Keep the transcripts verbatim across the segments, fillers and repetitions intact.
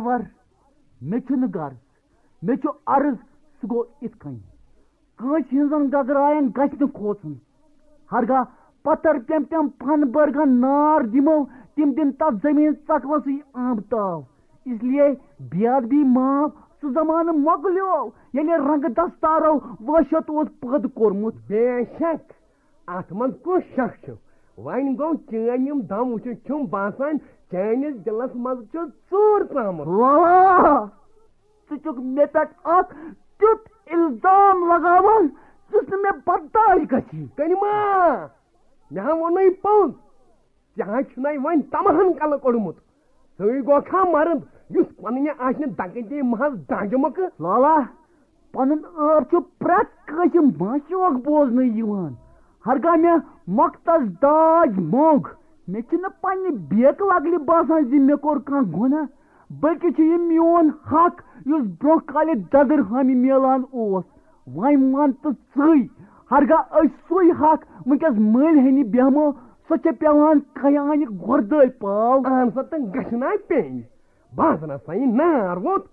ور، مےٚ چھُنہٕ غرض، مےٚ چھُ عرض، سُہ گوٚو یِتھ کٔنۍ۔ کٲنٛسہِ ہٕنٛزن گگراین گژھِ نہٕ کھوژُن۔ ہرگاہ پتھر پیٚم پیٚم پن بٔرگن نار دِمو، تِم دِن تتھ زٔمیٖن ژکوسٕے آب تاو۔ اس لیے بے ادبی معاف، سُہ زمانہٕ مۄکلیو، ییٚلہِ رنٛگہٕ دستارو وحشت اوس پٲدٕ کوٚرمُت۔ بے شک، اتھ منٛز کُس شک چھُ؟ وۄنۍ گوٚو، چٲنۍ یِم دم وٕچھِتھ چھُم باسان، چٲنِس دِلس منٛز چھُ ژوٗر ژامُت۔ واہ! ژٕ چھُکھ مےٚ پٮ۪ٹھ اکھ تیُتھ الزام لگاوان، یُس نہٕ مےٚ برداشت گژھِ۔ کریمہ، مےٚ ہا ووٚنُے پوٚز، ژےٚ ہا چھُنَے وۄنۍ تمہن کلہٕ کوٚڑمُت۔ ژٕے گوکھا مرد، یُس پنٕنہِ آسہِ نہٕ دکہٕ دے محض دانجہِ مۄکھٕ۔ لالا، پنُن عٲب چھُ پرٛٮ۪تھ کٲنٛسہِ ماشوق بوزنہٕ یِوان۔ ہرگاہ مےٚ مۄختس داج موٚنگ، مےٚ چھُنہٕ پننہِ بیکہٕ لگلہِ باسان زِ مےٚ کوٚر کانٛہہ گۄناہ، بلکہِ چھُ یہِ میون حق، یُس برونٛہہ کالہِ ددٕر ہامہِ میلان اوس۔ وۄنۍ وَن تہٕ ژٕے، ہرگاہ أسۍ سُے حق وٕنکیٚس مٔلۍ ہیٚنہِ بیٚہمو، سۄ چھےٚ پٮ۪وان کیانہِ گۄردٲلۍ پاو۔ اہن سا، تہٕ گژھِ نا پیٚنۍ؟ بہٕ حظ نہ سا یہِ نار ووٚت۔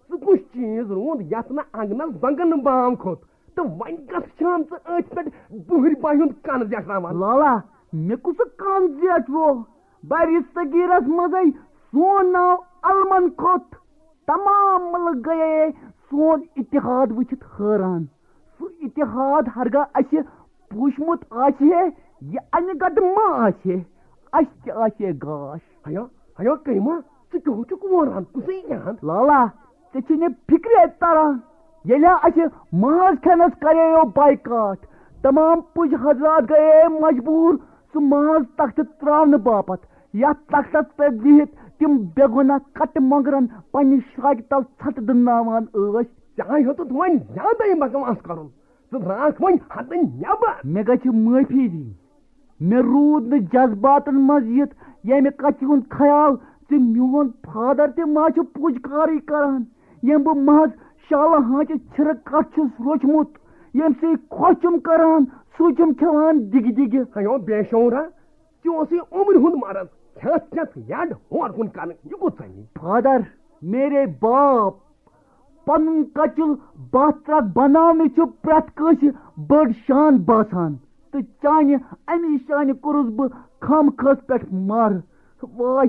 سُہ کُس چیٖز روٗد یَتھ نہٕ اَنٛگنَس زنٛگن بام کھوٚت؟ تہٕ وۄنۍ کَتھ چھان ژٕ أتھۍ پٮ۪ٹھ بُہٕرۍ بایہِ ہُنٛد کَن زیٹھراوان؟ لالا، مےٚ کُس کَن زیٹھوو؟ بَرِ صغیٖرَس منٛزَے سون ناو علمَن کھوٚت۔ تمام مُلک گٔیے سون اتحاد وٕچھِتھ حٲران۔ سُہ اتحاد ہرگاہ اَسہِ پوٗشمُت آسہِ ہے، یہِ اَنہِ گَٹہٕ ما آسہِ ہے، اَسہِ تہِ آسہِ ہے گاش۔ ہیا، ہیا کریمہ، ژٕ کیٛاہ چھُکھ وۄنان؟ کُسٕے جان؟ لالا، ژےٚ چھے نہٕ فِکرے تران۔ ییٚلہِ اَسہِ ماز کھٮ۪نَس کرییو بایکاٹ، تمام پُج حضرات گٔیے مجبوٗر سُہ ماز تختہٕ ترٛاونہٕ باپتھ۔ یَتھ تختَس پٮ۪ٹھ بِہِتھ تِم بے گۄناہ کَٹہٕ مۄنٛگرَن پنٛنہِ شراکہِ تل ژھَٹہٕ دٕناوان ٲسۍ۔ ژےٚ ہا ہیوٚتُتھ وۄنۍ زیادَے بکواس کَرُن۔ ژٕ درٛاکھ وۄنۍ حدٕ نٮ۪بر۔ مےٚ گژھِ معٲفی دِنۍ۔ مےٚ روٗد نہٕ جذباتن منٛز یِتھ ییٚمہِ کتھِ ہُنٛد خیال زِ میون فادر تہِ ما چھُ پُج کارٕے کران، ییٚمۍ بہٕ محض شالہٕ ہانٛچہِ چھِرٕ کٹھ چھُس روچھمُت، ییٚمہِ سۭتۍ خۄش چھُم کران، سُے چھُم کھٮ۪وان دِگہِ دِگہِ۔ ہیو بے شعورا، ژےٚ اوسُے عمرِ ہُنٛد مرض، کھٮ۪تھ کھٮ۪تھ یڈ ہور کُن کرٕنۍ، یہِ کوٚت ژَلہِ؟ فادر، میرے باپ، پنُن کچُل باتھ ترٛکھ بناونٕچ چھُ پرٛٮ۪تھ کٲنٛسہِ بٔڑ شان باسان، تہٕ چانہِ اَمی شانہِ کوٚرُس بہٕ خامخٲس پٮ۪ٹھ مر۔ واے،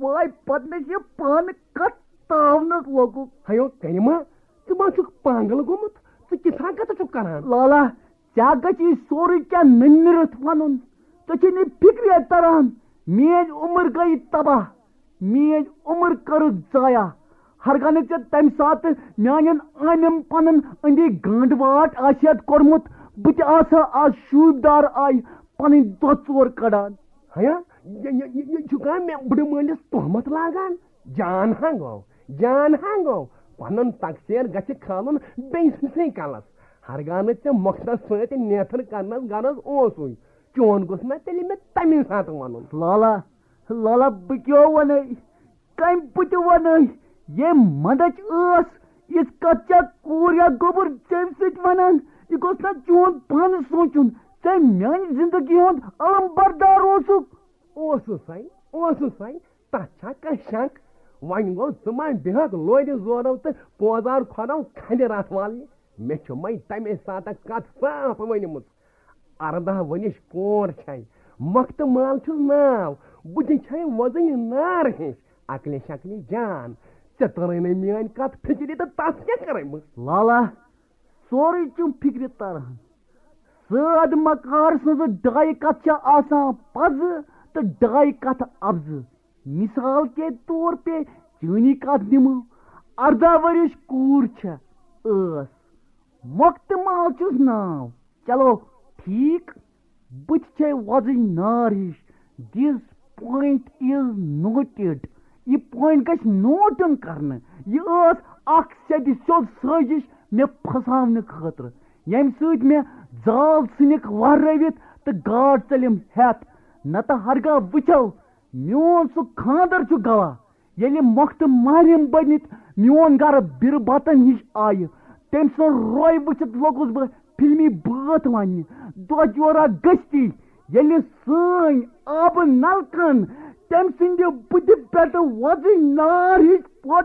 واے، پتہٕ مےٚ چھِ پانہٕ کتھ تاونس لوگُکھ۔ ہیو کریمہ، ژٕ ما چھُکھ پاگل گوٚمُت؟ ژٕ کِژھ حرکتہٕ چھُکھ کران؟ لالا، ژےٚ گژھی سورُے کینٛہہ نٔنِرتھ ونُن۔ ژےٚ چھے نہٕ فکرے تران، میٲنۍ عمر گٔیہِ تباہ، میٲنۍ عمر کٔرٕتھ ضایع۔ ہرگاہ نہٕ ژےٚ تمہِ ساتہٕ میانٮ۪ن عٲنٮ۪ن پنُن أنٛدی گانٛڈ واٹ آسہِ ہا کوٚرمُت، بہٕ تہِ آسہٕ ہا آز شوٗبدار آیہِ پنٕنۍ دۄہ ژور کڑان۔ ہیا، یہِ، یہِ، یہِ، یہِ چھُکھا مےٚ بٕڈٕ مٲلِس تہمت لاگان؟ جان ہا گوٚو، جان ہا گوٚو، پنُن تقصیر گژھِ کھالُن بیٚیہِ سٕنٛدسٕے کلس۔ ہرگاہ نہٕ ژےٚ مۄختس سۭتۍ نیتھر کرنس غرض اوسُے، چون گوٚژھ نا تیٚلہِ مےٚ تمی ساتہٕ ونُن۔ لالا، لالا، بہٕ کیٛاہ ونے؟ کمہِ پُتہِ ونے؟ ییٚمہِ مندچ ٲس، یِژھ کتھ چھا کوٗر یا گوٚبُر ژےٚ سۭتۍ ونان؟ یہِ گوٚژھ نا چون پانہٕ سونچُن، ژےٚ میانہِ زندگی ہُنٛد علم بردار اوسُکھ؟ اوسُس ہے، اوسُس ہے، تتھ چھا کانٛہہ شک؟ وۄنۍ گوٚو ژٕ ما بیہکھ لورِ زورو تہٕ پوزار کھۄرو کھنہِ راتھ والنہِ؟ مےٚ چھُ مے تمے ساتہٕ کتھ صاف ؤنمٕژ۔ ارداہ ؤنِش کور چھے، مۄختہٕ مال چھُس ناو، بُتھِ چھے وۄزٕنۍ نار ہِش، عقلہِ شکلہِ جان۔ ژےٚ تٔرٕے نہٕ میٲنۍ کتھ فِکرِ تہٕ تس کیٛاہ کٔرمٕژ؟ لالا، سورُے چھُم فِکرِ تران۔ سٲد مکار سٕنٛزٕ ڈایہِ کتھ چھےٚ آسان پزٕ تہٕ ڈایہِ کتھ افزٕ۔ مثال کے طور پہ چٲنی کتھ نِمو، ارداہ ؤرِش کوٗر چھےٚ، ٲس، مۄختہٕ مال چھُس ناو۔ چلو، ٹھیٖک، بہٕ تہِ چھے وۄزٕج نار ہِش۔ This point is noted۔ یہِ point گژھِ note یُن کرنہٕ۔ یہِ ٲس اکھ سیٚدِ سیوٚد سٲزِش مےٚ پھساونہٕ خٲطرٕ، ییٚمہِ سۭتۍ مےٚ زال ژھٕنِکھ وہرٲوِتھ تہٕ گاڈ ژٔلِم ہٮ۪تھ۔ نتہٕ ہرگاہ وٕچھو، میون سُہ خانٛدر چھُ گواہ، ییٚلہِ مۄختہٕ ماہرِم بٔنِتھ میون گرٕ بِرٕ بتن ہِش آیہِ، تٔمۍ سُنٛد روے وٕچھِتھ لوٚگُس بہٕ فلمی بٲتھ وننہِ۔ دۄہ جورا گٔژھتھی، ییٚلہِ سٲنۍ آبہٕ نلکن تٔمۍ سٕنٛدِ بُتھِ پٮ۪ٹھٕ وۄزٕج نار ہِش پھوٹہٕ